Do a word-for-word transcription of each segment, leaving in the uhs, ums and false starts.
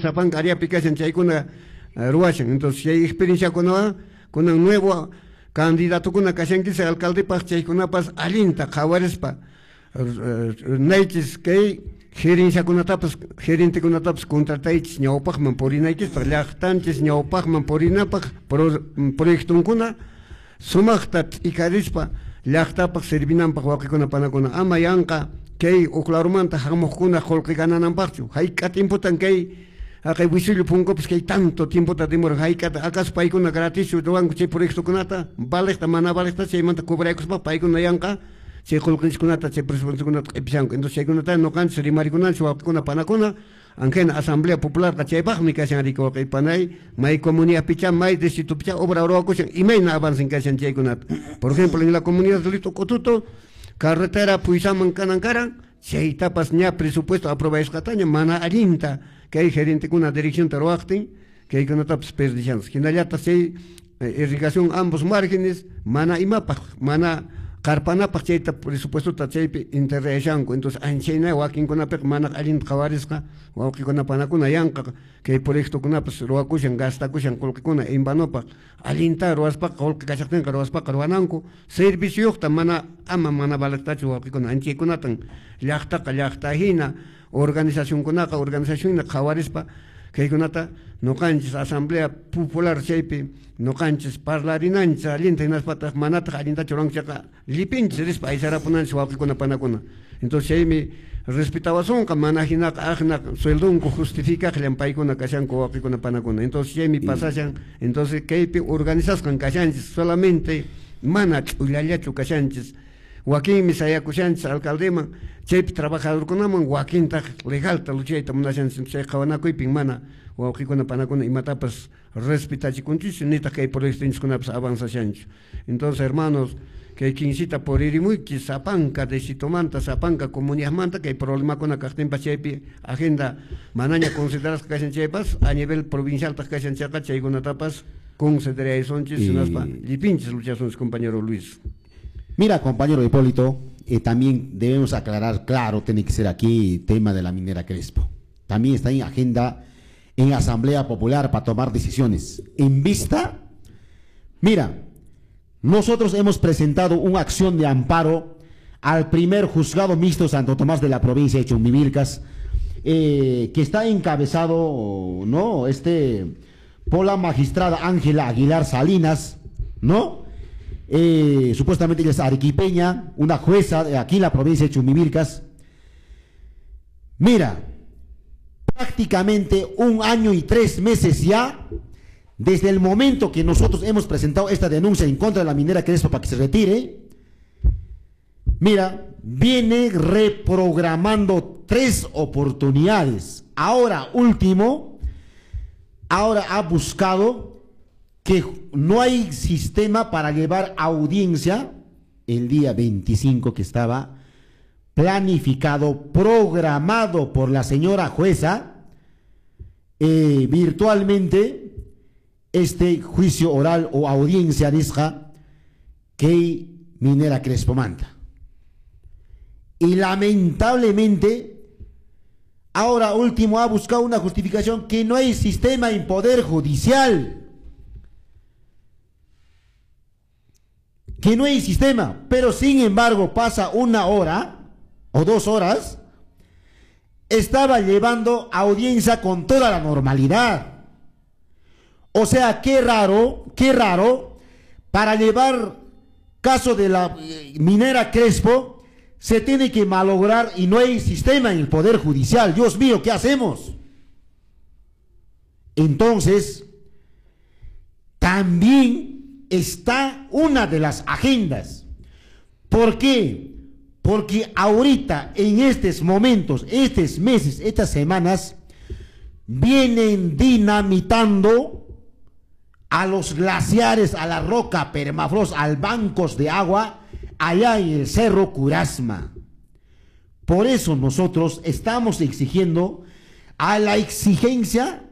sapanka áreapi kashan chaykuna ruwashan. Entonces chay experienciakunawan kunan nuevo candidatokuna kashankis alcaldepaq chaykunapas allinta qhawarispa naychis kay gerenciakunatapas gerentekunatapas contrataychis ñawpaqman purinaykispaq llaqtanchis ñawpaqman purinapaq proyectonkuna sumaqta t'ikarispa llaqtapaq servinanpaq wawqikuna panakuna ama yanqa kay uqlarumanta hamuqkuna qullqi ganananpaqchu hayk'a tiempotan kay haqay wisillu punkupas kay tanto tiempota demoran hayk'ata acaso paykuna gratischu ruwanku chay proyectokunata valeqta mana valeqta chaymanta cobraykuspa paykuna yanqa chay qullqinchikkunata chay presupuestokunata q'ipishanku. Entonces chaykunata ñuqanchis rimarikunanchis wawqikuna panakuna anjena asamblea popularqa chaypaqmi kashan riki wawqi panay may comunidadpicha may distritopicha obra ruwakushan imayna avancen kashan chaykunata. Por ejemplo en la comunidad de Lito Cotuto carretera Puysaman kanan karan chaytapas ña presupuesto aprobasqataña mana allinta kay gerentekuna direccionta ruwaqtin kaykunatapas perdishanchis. Hinallataq chay irrigación ambos márgenes mana imapaq mana qarpanapaq chayta presupuestota chaypi enterrashanku. Entonces anchayna wakinkunapiqa mana allinta qhawarisqa wawqikuna panakuna yanqa kay proyectokunapas ruwakushan gastakushan qullqikuna en vanopaq allinta ruwaspaqa qullqi kashaqtinqa ruwaspaqa ruwananku servicioyuqta mana ama mana valeqtachu wawqikuna anchaykunatan llaqtaqa llaqta hina organizacionkunaqa organizacionna qhawarispa kaykunata ñuqanchis asamblea popular chaypi ñuqanchis parlarinanchis allinta hinaspataq manataq allintachu ruwanku chayqa llipinchis rispa aysarapunanchis wawqikuna panakuna. Entonces chaymi respetawasunqa mana hinaqa aqna sueldonku justificaqllan paykuna kashanku wawqikuna panakuna. Entonces chaymi pasashan. Entonces kaypi organizasqan kashanchis solamente mana ch'ullallachu kashanchis wakinmi sayakushanchis alcaldeman chaypi trabajadorkunaman wakintaq legalta luchayta munashanchis chay qhawanakuypin mana wawqikuna panakuna imatapas respetachikunchis nitaq kay proyectonchiskunapas avanzashanchu. Entonces hermanos kay quincita puririmuychis sapanka distritomanta sapanka comunidadmanta kay problemakuna kaqtinpas chaypi agenda manaña considerasqa kashan chaypas a nivel provincialtaq kashan chayqa chaykunatapas consideraysunchis hinaspa llipinchis luchasunchis compañero Luis. Mira, compañero Hipólito, eh, también debemos aclarar, claro, tiene que ser aquí tema de la minera Crespo. También está en agenda en Asamblea Popular para tomar decisiones. En vista, mira, nosotros hemos presentado una acción de amparo al primer juzgado mixto Santo Tomás de la provincia de Chumbivilcas, eh, que está encabezado, ¿no? Este, por la magistrada Ángela Aguilar Salinas, ¿no? Eh, supuestamente ella es arequipeña, una jueza de aquí en la provincia de Chumbivilcas. Mira, prácticamente un año y tres meses ya, desde el momento que nosotros hemos presentado esta denuncia en contra de la minera Crespo para que se retire, mira, viene reprogramando tres oportunidades. Ahora último, ahora ha buscado que no hay sistema para llevar audiencia el día veinticinco que estaba planificado, programado por la señora jueza, eh, virtualmente, este juicio oral o audiencia nisqa que minera Crespo manta. Y lamentablemente, ahora último ha buscado una justificación que no hay sistema en poder judicial. Que no hay sistema, pero sin embargo pasa una hora o dos horas, estaba llevando audiencia con toda la normalidad. O sea, qué raro, qué raro, para llevar caso de la minera Crespo, se tiene que malograr y no hay sistema en el Poder Judicial. Dios mío, ¿qué hacemos? Entonces, también está una de las agendas. ¿Por qué? Porque ahorita, en estos momentos, estos meses, estas semanas, vienen dinamitando a los glaciares, a la roca permafrost, al bancos de agua, allá en el Cerro Curasma. Por eso nosotros estamos exigiendo a la exigencia,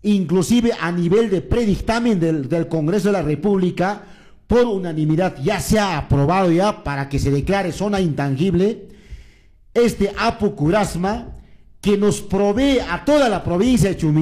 inclusive a nivel de predictamen del, del Congreso de la República, por unanimidad, ya se ha aprobado ya para que se declare zona intangible este Apu Curasma, que nos provee a toda la provincia de Chumbivilcas.